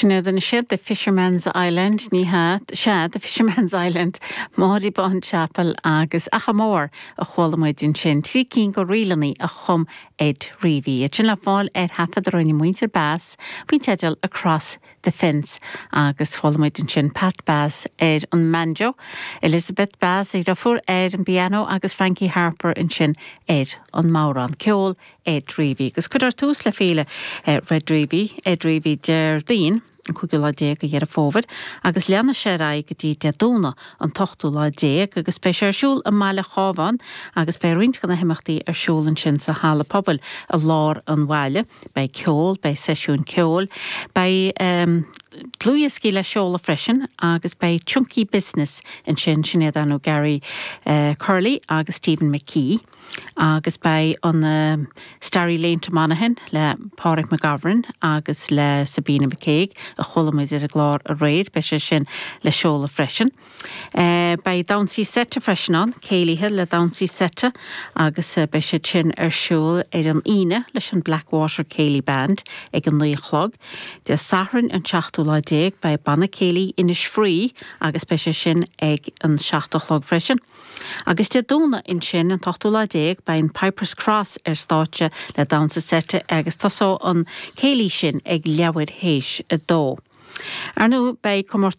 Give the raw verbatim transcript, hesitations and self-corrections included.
Sin iad ansin The Fisherman's Island ní hea sea The Fisherman's Island Máirí Bán Chapel agus Achamore a chuala muid ansin trí cinn de ríleanna a chum Ed Reavy. Sin le fáil ar thaifead a rinne muintir Bass faoin teideal Across the Fence agus chuala muid ansin Pat Bass ar an mbanjo, Elizabeth Bass ag rafúr ar an piano agus Frankie Harper ansin ar an mbodhrán ceol Ed Reavy. Agus cuirfear tús le féile eh, Red Reavy, Ed Reavy Déardaoin an cúigiú lá déag de Dheireadh Fómhair, agus leanfaidh sé ar aghaidh go dtí Dé Domhnaigh an t-ochtú lá déag agus beidh sé ar siúl i mBaile Chábháin agus beidh roinnt de na himeachtaí ar siúl ansin sa halla pobail i lár an bhaile, beidh ceol, beidh seisiún ceoil, beidh um, dlúthdhioscaí le seoladh freisin agus beidh Chunky Business ansin sin iad nó Gary uh, Curley agus Stephen McKee. agus beidh an uh, Starry Lane to Monaghan le Pádraig McGovern agus le Sabina McCaig a chuala muid ar an gclár aréir beidh sé sin le seoladh freisin. Uh, beidh damhsaí seite freisin ann, céilithe le damhsaí seite agus uh, beidh sé sin ar siúl ar an Aoine leis an Blackwater Céilí Band ag an naoi a chlog. Dé Sathairn an seachtú lá déag beidh banna céilí Inis Fraoi agus beidh sé sin ag an seacht a chlog freisin. Agus Dé Domhnaigh ansin an t-ochtú lá déag beidh an Pipers Cross ar stáitse le damhsa seite agus tosóidh an céilí sin ag leathuair théis a dó. Ar ndóigh beidh comórtas